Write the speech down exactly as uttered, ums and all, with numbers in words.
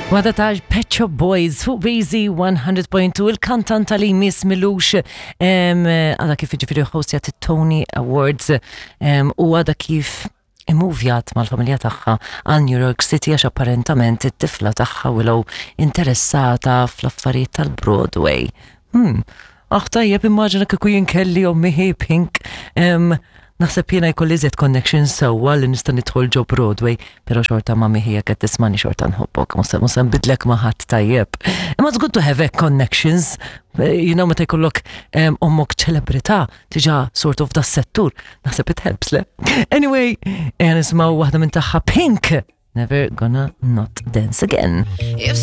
Wada ta' Pet Shop Boys fuq B Z one hundred point two, il-kantanta li Miss Milux għada kif ġifieri hostjat Tony Awards em, u għada kif immuvjat mal-familja tagħha għal New York City għax apparentament it-tifla tagħha Willow interessata fl-affarijiet tal-Broadway. Hmm. Aħ, tajjeb, immaġina kieku jien kelli ommi hi Pink. Em, Naħseb jiena jkolli iżjed connection sewwa li nista' nidħol ġo Broadway, pero xorta ma miħija qed tismani, xorta nħobbok, mhux se nbidlek ma' ħadd, tajjeb. Imma it's good to have connections, you know, meta jkollok em, ommok ċelebrità tiġa sort of da settur, naħseb it helps, le? Anyway, nisimgħu waħda minn tagħha, Pink, "Never Gonna Not Dance Again." If